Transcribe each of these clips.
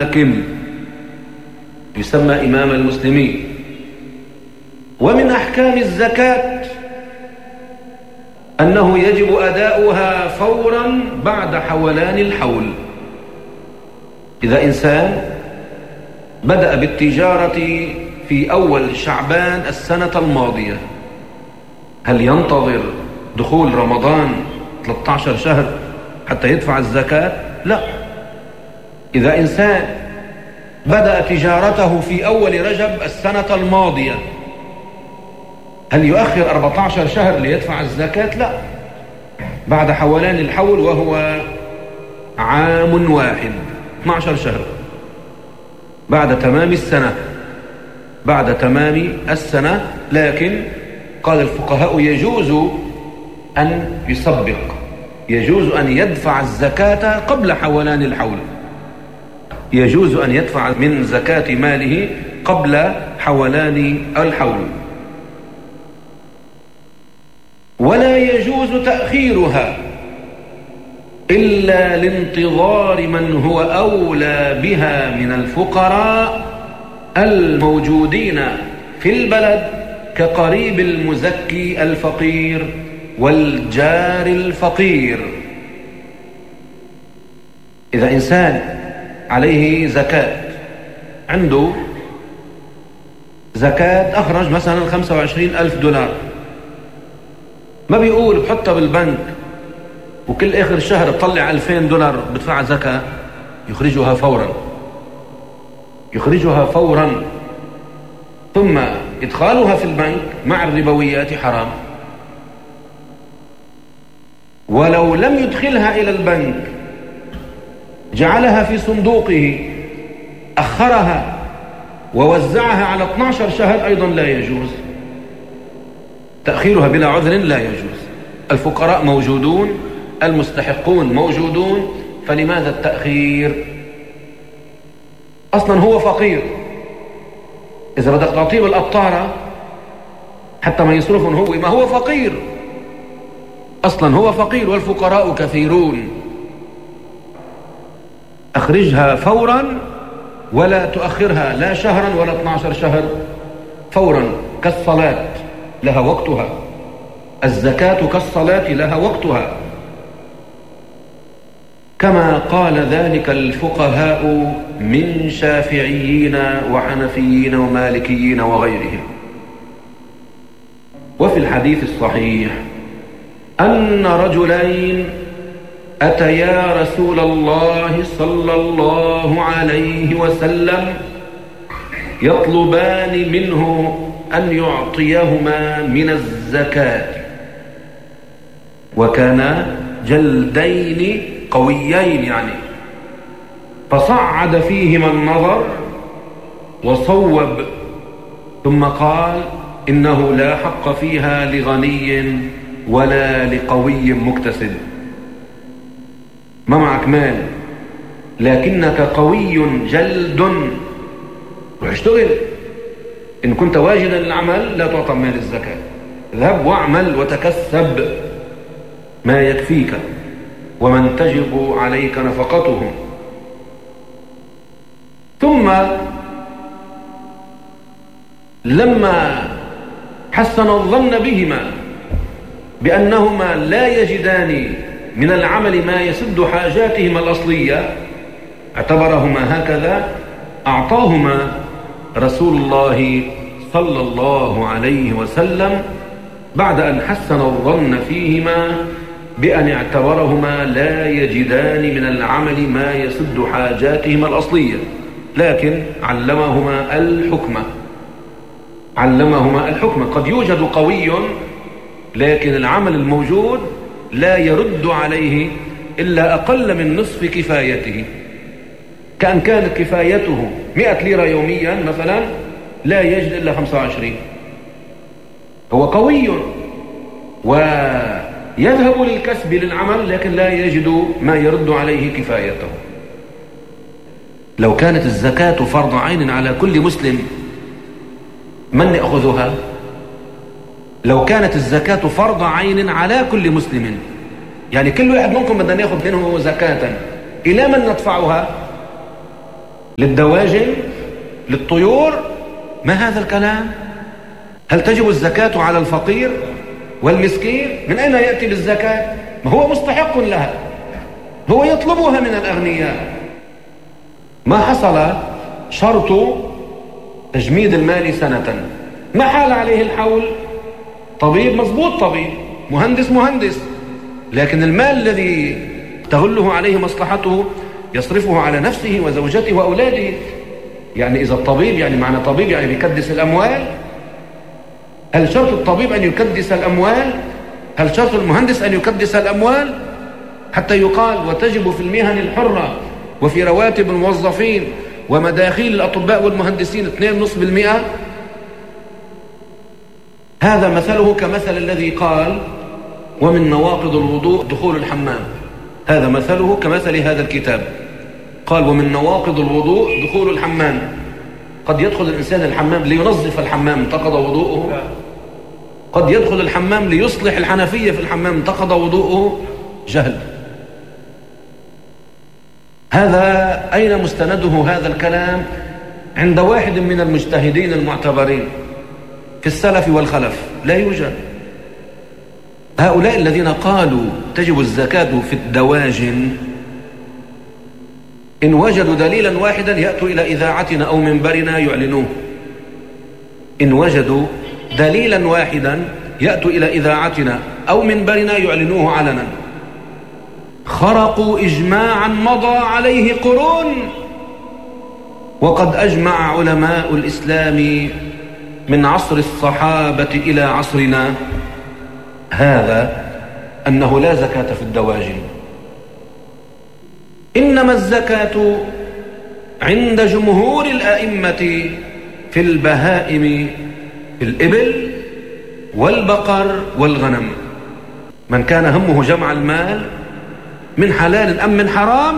حاكم يسمى إمام المسلمين. ومن أحكام الزكاة أنه يجب أداؤها فورا بعد حولان الحول. إذا إنسان بدأ بالتجارة في أول شعبان السنة الماضية، هل ينتظر دخول رمضان 13 شهر حتى يدفع الزكاة؟ لا. إذا إنسان بدأ تجارته في أول رجب السنة الماضية، هل يؤخر 14 شهر ليدفع الزكاة؟ لا. بعد حولان الحول وهو عام واحد 12 شهر بعد تمام السنة، بعد تمام السنة. لكن قال الفقهاء يجوز أن يسبق، يجوز أن يدفع الزكاة قبل حولان الحول، يجوز أن يدفع من زكاة ماله قبل حولان الحول. ولا يجوز تأخيرها إلا لانتظار من هو أولى بها من الفقراء الموجودين في البلد كقريب المزكي الفقير والجار الفقير. إذا إنسان عليه زكاة، عنده زكاة أخرج مثلا 25,000 دولار، ما بيقول بحطها بالبنك وكل آخر شهر بطلع 2,000 دولار بدفع زكاة. يخرجها فورا، يخرجها فورا، ثم إدخالها في البنك مع الربويات حرام. ولو لم يدخلها إلى البنك، جعلها في صندوقه، أخرها ووزعها على 12 شهر، أيضا لا يجوز. تأخيرها بلا عذر لا يجوز. الفقراء موجودون، المستحقون موجودون، فلماذا التأخير؟ أصلا هو فقير، إذا بدك تعطيه بالقطارة حتى ما يصرفهم هو، ما هو فقير أصلا، هو فقير والفقراء كثيرون. أخرجها فورا ولا تؤخرها لا شهرا ولا 12 شهر، فورا. كالصلاة لها وقتها، الزكاة كالصلاة لها وقتها، كما قال ذلك الفقهاء من شافعيين وحنفيين ومالكيين وغيرهم. وفي الحديث الصحيح أن رجلين أتيا رسول الله صلى الله عليه وسلم يطلبان منه أن يعطيهما من الزكاة، وكانا جلدين قويين يعني، فصعد فيهما النظر وصوب، ثم قال إنه لا حق فيها لغني ولا لقوي مكتسب. ما معك مال لكنك قوي جلد، روح اشتغل. إن كنت واجدا للعمل لا تعطى مال الزكاة، اذهب واعمل وتكسب ما يكفيك ومن تجب عليك نفقته. ثم لما حسن الظن بهما بأنهما لا يجدان من العمل ما يسد حاجاتهما الأصلية، اعتبرهما هكذا، أعطاهما رسول الله صلى الله عليه وسلم بعد أن حسن الظن فيهما بأن اعتبرهما لا يجدان من العمل ما يسد حاجاتهما الأصلية، لكن علمهما الحكمة، علمهما الحكمة. قد يوجد قوي لكن العمل الموجود لا يرد عليه إلا أقل من نصف كفايته، كأن كانت كفايته 100 ليرة يوميا مثلا، لا يجد إلا 25. هو قوي ويذهب للكسب للعمل لكن لا يجد ما يرد عليه كفايته. لو كانت الزكاة فرض عين على كل مسلم، من يأخذها؟ لو كانت الزكاة فرض عين على كل مسلم، يعني كل واحد منكم بدنا ناخذ منه زكاة، إلى من ندفعها؟ للدواجن، للطيور؟ ما هذا الكلام؟ هل تجب الزكاة على الفقير والمسكين؟ من أين يأتي بالزكاة؟ ما هو مستحق لها، هو يطلبها من الأغنياء. ما حصل شرط تجميد المال سنة، ما حال عليه الحول. طبيب مضبوط، طبيب، مهندس، لكن المال الذي تغله عليه مصلحته يصرفه على نفسه وزوجته وأولاده. يعني إذا الطبيب، يعني معنى طبيب يعني بيكدس الأموال؟ هل شرط الطبيب أن يكدس الأموال؟ هل شرط المهندس أن يكدس الأموال؟ حتى يقال وتجب في المهن الحرة وفي رواتب الموظفين ومداخيل الأطباء والمهندسين 2.5%. هذا مثله كمثل الذي قال ومن نواقض الوضوء دخول الحمام. هذا مثله كمثل هذا الكتاب، قال ومن نواقض الوضوء دخول الحمام. قد يدخل الإنسان الحمام لينظف الحمام، انتقض وضوءه. قد يدخل الحمام ليصلح الحنفية في الحمام، انتقض وضوءه. جهل. هذا أين مستنده هذا الكلام؟ عند واحد من المجتهدين المعتبرين في السلف والخلف لا يوجد. هؤلاء الذين قالوا تجب الزكاة في الدواجن إن وجدوا دليلا واحدا يأتوا إلى إذاعتنا أو منبرنا يعلنوه. إن وجدوا دليلا واحدا يأتوا إلى إذاعتنا أو منبرنا يعلنوه علنا. خرقوا إجماعا مضى عليه قرون، وقد أجمع علماء الإسلام من عصر الصحابة إلى عصرنا هذا أنه لا زكاة في الدواجن. إنما الزكاة عند جمهور الأئمة في البهائم، في الإبل والبقر والغنم. من كان همه جمع المال من حلال أم من حرام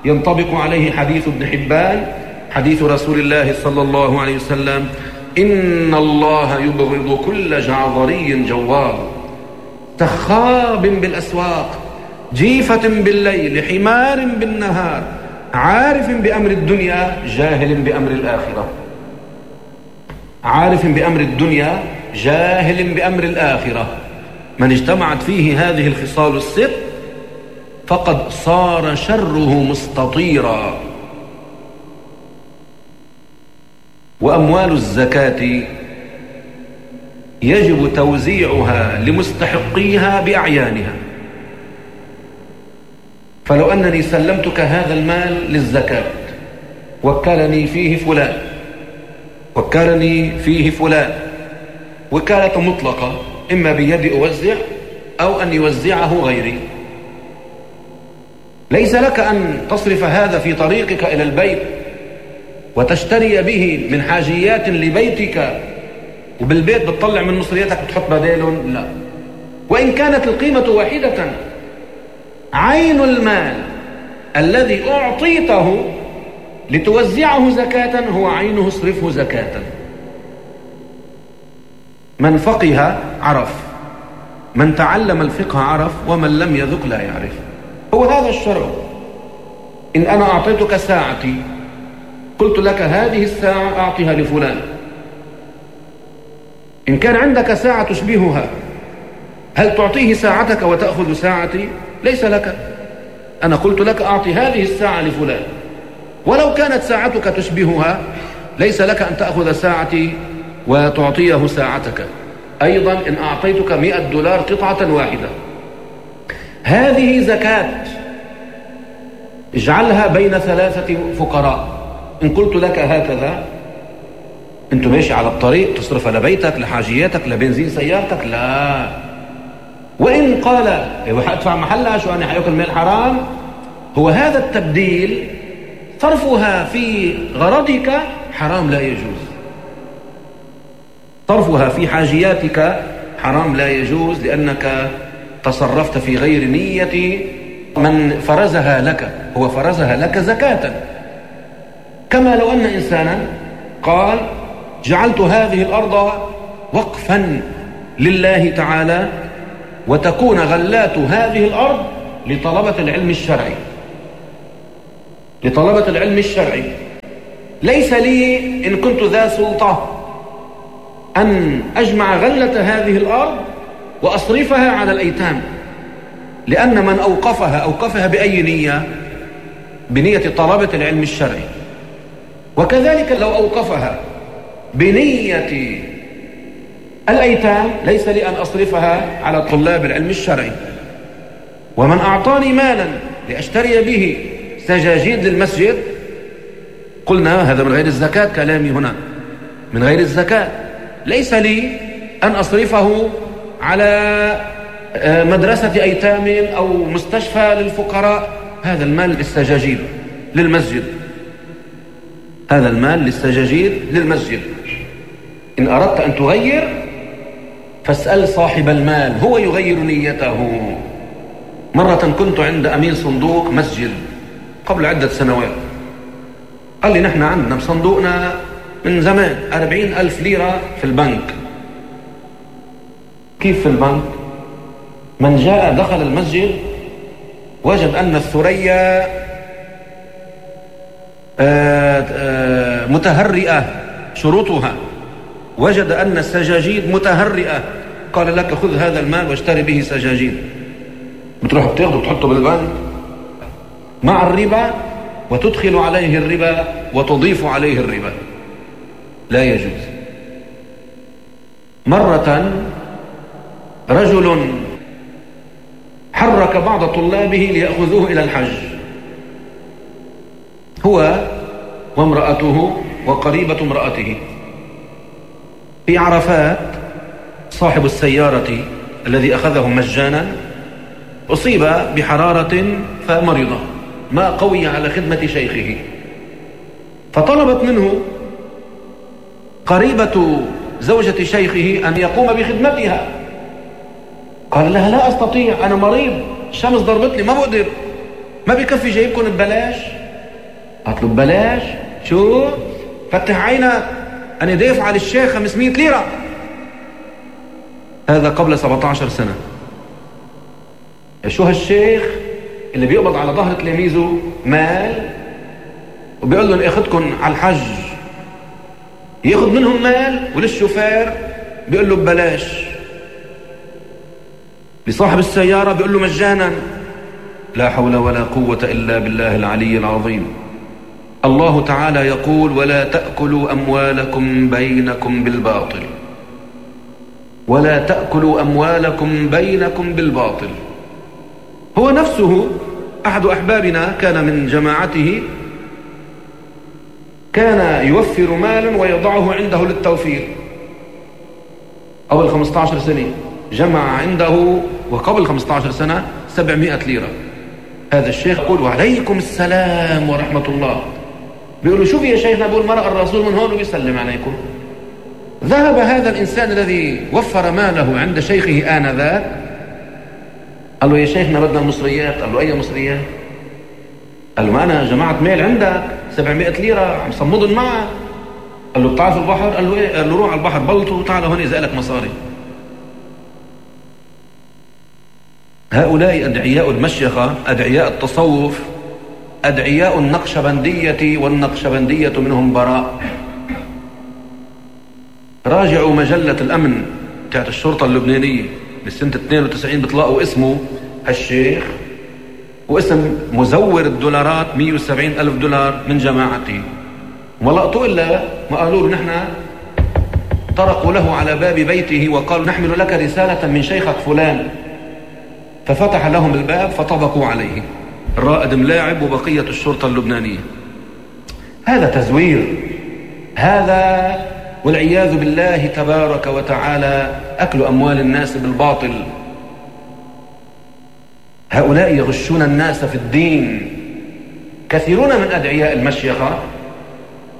ينطبق عليه حديث ابن حبان، حديث رسول الله صلى الله عليه وسلم: إن الله يبغض كل جعظري جوار سخاب بالأسواق جيفة بالليل حمار بالنهار عارف بأمر الدنيا جاهل بأمر الآخرة. عارف بأمر الدنيا جاهل بأمر الآخرة. من اجتمعت فيه هذه الخصال الست فقد صار شره مستطيرا. وأموال الزكاة يجب توزيعها لمستحقيها بأعيانها. فلو أنني سلمتك هذا المال للزكاة وكلني فيه فلان وكالة مطلقة، إما بيدي أوزع أو أن يوزعه غيري، ليس لك أن تصرف هذا في طريقك إلى البيت وتشتري به من حاجيات لبيتك وبالبيت بتطلع من مصرياتك بتحط بدالهم، لا. وإن كانت القيمة واحدة، عين المال الذي أعطيته لتوزعه زكاة هو عينه، اصرفه زكاة. من فقه عرف، من تعلم الفقه عرف، ومن لم يذق لا يعرف. هو هذا الشرع. إن أنا أعطيتك ساعتي قلت لك هذه الساعة أعطيها لفلان، إن كان عندك ساعة تشبهها هل تعطيه ساعتك وتأخذ ساعتي؟ ليس لك. أنا قلت لك أعطي هذه الساعة لفلان، ولو كانت ساعتك تشبهها ليس لك أن تأخذ ساعتي وتعطيه ساعتك. أيضا إن أعطيتك $100 قطعة واحدة، هذه زكاة اجعلها بين 3 فقراء. إن قلت لك هكذا أنت ماشي على الطريق تصرف لبيتك لحاجياتك لبنزين سيارتك، لا. وإن قال هدفع محلها شو أنا حيأكل مال حرام، هو هذا التبديل صرفها في غرضك حرام لا يجوز، صرفها في حاجياتك حرام لا يجوز، لأنك تصرفت في غير نية من فرزها لك. هو فرزها لك زكاة. كما لو أن إنسانا قال جعلت هذه الأرض وقفا لله تعالى وتكون غلات هذه الأرض لطلبة العلم الشرعي، ليس لي إن كنت ذا سلطة أن أجمع غلة هذه الأرض وأصرفها على الأيتام، لأن من أوقفها بأي نية؟ بنية طلبة العلم الشرعي. وكذلك لو أوقفها بنية الأيتام ليس لي أن أصرفها على طلاب العلم الشرعي. ومن أعطاني مالا لأشتري به سجاجيد للمسجد، قلنا هذا من غير الزكاة، كلامي هنا من غير الزكاة، ليس لي أن أصرفه على مدرسة أيتام أو مستشفى للفقراء. هذا المال للسجاجيد للمسجد، هذا المال للسجاجيد للمسجد. إن أردت أن تغير فاسأل صاحب المال، هو يغير نيته. مرة كنت عند أمين صندوق مسجد قبل عدة سنوات، قال لي نحن عندنا بصندوقنا من زمان 40,000 ليرة في البنك. كيف في البنك؟ من جاء دخل المسجد وجد أن الثريا متهرئة شروطها، وجد أن السجاجيد متهرئة، قال لك خذ هذا المال واشتري به سجاجيد. بتروح بتاخده وتحطه بالبنك مع الربا، وتدخل عليه الربا وتضيف عليه الربا، لا يجوز. مرة رجل حرك بعض طلابه ليأخذوه إلى الحج، هو وامرأته وقريبة امرأته. في عرفات صاحب السيارة الذي أخذهم مجانا أصيب بحرارة فمرض، ما قوي على خدمة شيخه، فطلبت منه قريبة زوجة شيخه أن يقوم بخدمتها. قال لها لا أستطيع، أنا مريض، الشمس ضربتني، ما بقدر، ما بكفي جايبكم ببلاش. قالت له ببلاش؟ شو؟ فتح عينك، أنا دافع على الشيخ 500 ليرة. هذا قبل 17 سنة. شو هالشيخ اللي بيقبض على ظهر تلاميذه مال وبيقول لهم اخذكم على الحج، ياخذ منهم مال، وللشوفير بيقول له ببلاش، لصاحب السيارة بيقول له مجانا. لا حول ولا قوة إلا بالله العلي العظيم. الله تعالى يقول ولا تأكلوا أموالكم بينكم بالباطل، ولا تأكلوا أموالكم بينكم بالباطل. هو نفسه أحد أحبابنا كان من جماعته، كان يوفر مالا ويضعه عنده للتوفير. قبل 15 سنة جمع عنده، وقبل 15 سنة 700 ليرة. هذا الشيخ يقول وعليكم السلام ورحمة الله. بيقول له شوف يا شيخنا، بيقول مرأة الرسول من هون وبيسلم عليكم. ذهب هذا الإنسان الذي وفر ماله عند شيخه آنذاك، قال له يا شيخنا بدنا المصريات. قال له أي مصريات؟ قال له ما أنا جمعت مال عندك 700 ليرة عم صمدن معك. قال له بتعرف البحر؟ قال له إيه؟ قال له روح على البحر بلطو وتعال هون إذا لك مصاري. هؤلاء أدعياء المشيخة، أدعياء التصوف، أدعياء النقشبندية، والنقشبندية منهم براء. راجعوا مجلة الأمن بتاعت الشرطة اللبنانية بسنة 92، بتلاقوا اسمه هالشيخ واسم مزور الدولارات 170,000 دولار من جماعته. وما لقطوا إلا ما قالوا له نحن طرقوا له على باب بيته وقالوا نحمل لك رسالة من شيخك فلان، ففتح لهم الباب فطبقوا عليه. الرائد ملاعب وبقية الشرطة اللبنانية. هذا تزوير، هذا والعياذ بالله تبارك وتعالى أكل أموال الناس بالباطل. هؤلاء يغشون الناس في الدين. كثيرون من أدعياء المشيخة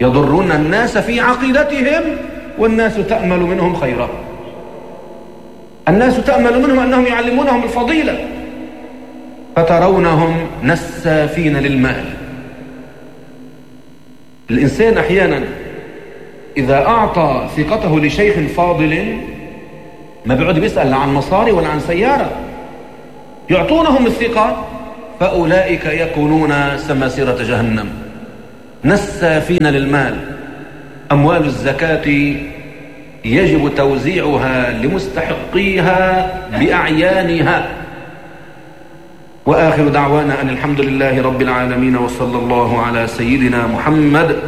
يضرون الناس في عقيدتهم، والناس تأمل منهم خيرا. الناس تأمل منهم أنهم يعلمونهم الفضيلة، فترونهم نسافين للمال. الإنسان أحيانا إذا أعطى ثقته لشيخ فاضل ما بيقعد بيسأل لا عن مصاري ولا عن سيارة، يعطونهم الثقة، فأولئك يكونون سماسرة جهنم. نسافين للمال. أموال الزكاة يجب توزيعها لمستحقيها بأعيانها. وآخر دعوانا أن الحمد لله رب العالمين، وصلى الله على سيدنا محمد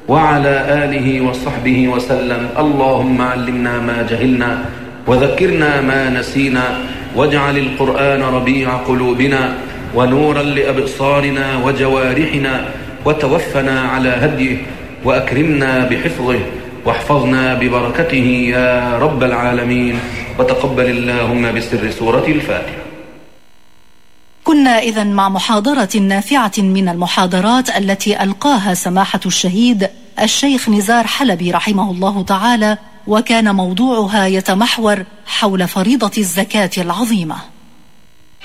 وعلى آله وصحبه وسلم. اللهم علمنا ما جهلنا وذكرنا ما نسينا، واجعل القرآن ربيع قلوبنا ونورا لأبصارنا وجوارحنا، وتوفنا على هديه، وأكرمنا بحفظه، واحفظنا ببركته يا رب العالمين، وتقبل اللهم بسر سورة الفاتحة. كنا إذن مع محاضرة نافعة من المحاضرات التي ألقاها سماحة الشهيد الشيخ نزار حلبي رحمه الله تعالى، وكان موضوعها يتمحور حول فريضة الزكاة العظيمة.